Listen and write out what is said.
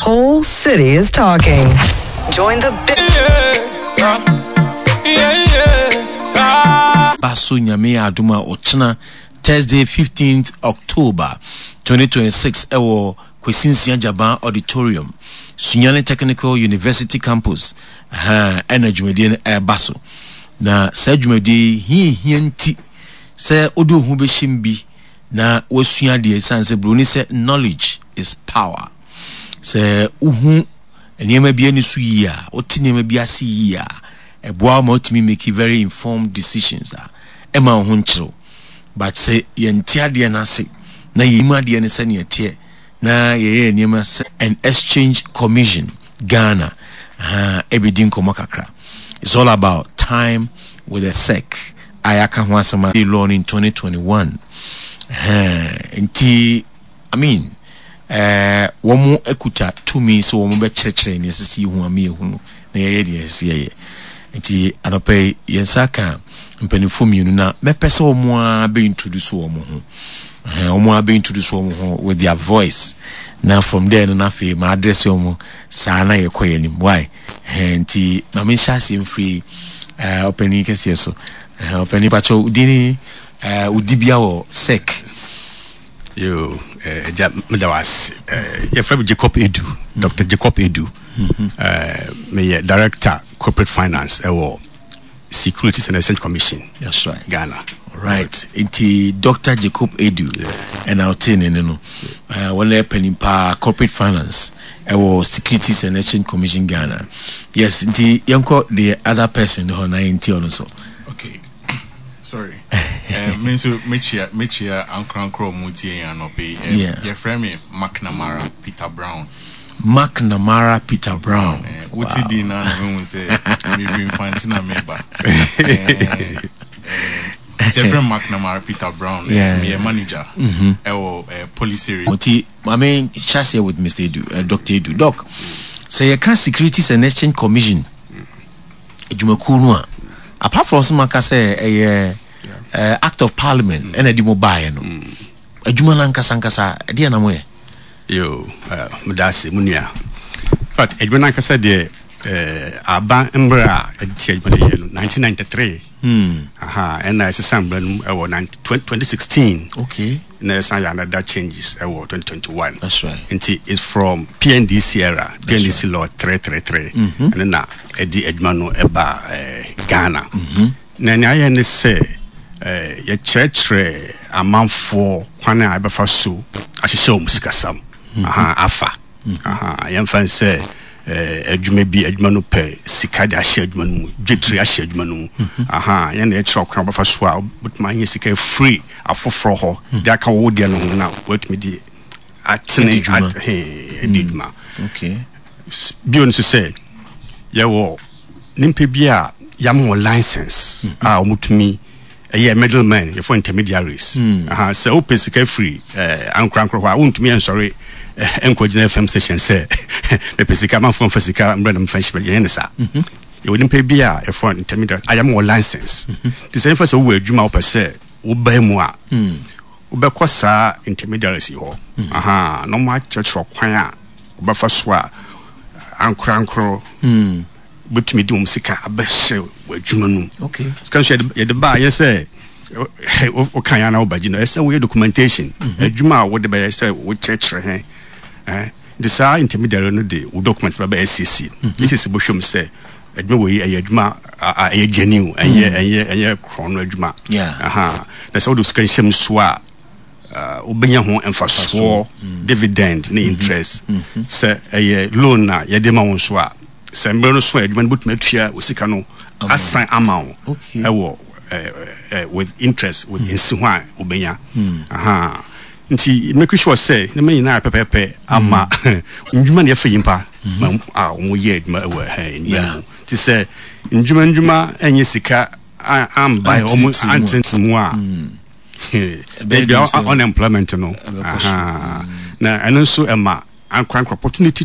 whole city is talking. Join the big. Ba so Nyame yɛ adom a ɔkyena Thursday 15th October 2026 ɛwɔ Kwesi Nsia Gyaban Auditorium, Sunyani Technical University Campus, ɛha ɛna dwumadie no ɛreba so. Na saa dwumadie yi hia hia nti sɛ wode wo ho bɛhyɛ mu bi na wasua adeɛ ɛsiane sɛ buroni sɛ knowledge is power. Sɛ wohu nneɛma bi ani so yie a, wote nneɛma bi ase yie a, ɛboa wo ma wotumi make very informed decisions a ɛma wo ho nkyerɛw. But sɛ yɛnte adeɛ no ase na yɛnim adeɛ no sɛnea ɛteɛ na yɛyɛ nneɛma sɛ and Exchange Commission Ghana ɛbɛdi nkɔmmɔ kakra. It's all about time with the SEC a yɛaka ho asɛm a law no in 2021. Nti I mean, wɔn kuta tumi sɛ wɔn bɛkyerɛkyerɛ nea ɛsɛ sɛ yɛhu ama yɛhunu na yɛyɛ deɛ ɛsɛ sɛ yɛyɛ. Nti anɔpa yi yɛn nsa ka mpanimfoɔ mmienu na mɛpɛ sɛ wɔn ara bɛ introduce wɔn ho. Wɔn ara bɛ introduce wɔn ho with their voice. Na from there no na afei ma address wɔn saa na yɛkɔ yɛn anim. Why? Nti ma menhyɛ aseɛ mfiri ɔpanin kɛseɛ so. Ɔpanin pakyɛ wodin wodi bia wɔ SEC. Yo, agya meda wo ase. Yɛfrɛ me Jacob Edu, Dr. Jacob Edu. Meyɛ Director Corporate Finance ɛwɔ Securities and Exchange Commission. That's right. Ghana. Right. Nti Dr. Jacob Edu ɛna ɔte ne ne no. Wɔn yɛ panin paa corporate finance ɛwɔ Securities and Exchange Commission Ghana. Yes, nti yɛnkɔ the other person hɔ na yɛnti ɔno so. Okay. Sorry. Me nso mekyia mekyia ankorankoro a wɔn tie yɛn anɔpɛ yi. Yeah. Yɛfrɛ me McNamara Peter Brown. McNamara Peter Brown. Wote wow. Din na na mehu sɛ mefiri Mfante na meba. Yɛfrɛ me McNamara Peter Brown. Yeah. Meyɛ manager ɛwɔ policy. Nti maame hyɛ aseɛ with Mr. Edu, Dr. Edu. Doc, sɛ yɛka Securities and Exchange Commission adwumakuo no a apart from sɛ maka sɛ ɛyɛ act of parliament ɛna ɛde mo baeɛ no adwuma no ankasa ankasa ɛdeɛ na moyɛ? Yo, meda ase mu nua. But adwuma no ankasa deɛ aba mmerɛ a ɛde ti adwuma no yɛ no 1993. Aha, ɛna ɛsesa mmerɛ no ɛwɔ 2016. Okay. Na ɛsan yɛ another changes ɛwɔ 2021. That's right. Nti it's from PNDC era, PNDC right. Law 333. Ɛno na ɛde adwuma no ɛba Ghana. Na nea ayɛ ne sɛ yɛkyerɛkyerɛ amanfoɔ kwan a ɛbɛfa so ahyehyɛ wɔn sikasɛm. Aha, afa. Aha, yɛmfa n sɛ adwuma bi, adwuma no pɛ sika de ahyɛ adwuma no mu, dwetire ahyɛ adwuma no mu. Aha, yɛn na yɛkyerɛ ɔkwan a wɔbɛfa so a wobɛtumi anya sika afiri afoforɔ hɔ de aka wo deɛ no ho na woatumi de atene adi dwuma. Bio nso sɛ yɛwɔ nipa bi a yɛama wɔn license a wɔtumi ɛyɛ middlemen, yɛfɔ intermediaries. Aha, sɛ wopɛ sika firi ankorankoro hɔ a, wontumi nsɔre nkɔgyina FM station sɛ mepɛ sika, manfoɔ mfa sika mbrɛ na mfa nhyɛ, yɛnyɛ ne saa. Yɛwɔ nipa bi a yɛfɔ intermediaries a yɛama wɔ license. Nti sɛ yɛmfa sɛ wowɔ adwuma a wopɛ sɛ wobaa mu a, wobɛkɔ saa intermediaries yi hɔ. Aha, na wɔn akyerɛkyerɛ kwan a wobɛfa so a ankorankoro wobɛtumi de wɔn sika abɛhyɛ w'adwuma no mu. Sika nso yɛde ba a, yɛ sɛ woka yɛn na wobɛgye no, ɛsɛ woyɛ documentation. Adwuma a wode bɛyɛ sɛ wokyerɛkyerɛ he. Nti saa intermediary no de wo document bɛba SEC. SEC bɛhwɛ mu sɛ adwuma wɔ yi ɛyɛ adwuma a ɛyɛ genuine, ɛnyɛ ɛnyɛ ɛnyɛ korɔn no adwuma. Aha. Na sɛ wode sika nhyɛ mu so a, wobɛnya ho mfasoɔ, dividend ne interest. Sɛ ɛyɛ loan na yɛde ma wo nso a, sɛ mmerɛ no so a adwuma no bɛtumi atua wo sika no asan ama wo ɛwɔ with interest with nsi ho a wobɛnya. Aha. Nti make sure sɛ nneɛma nyinaa pɛpɛɛpɛ ama ndwuma na yɛfɛ nyimpa ma a wɔyɛ adwuma ɛwɔ nnwuma mu. Nti sɛ ndwuma ndwuma ɛnyɛ sika amba wɔn antete mu a, ebi unemployment no. Na ɛno nso ɛma ankorankora opportunity.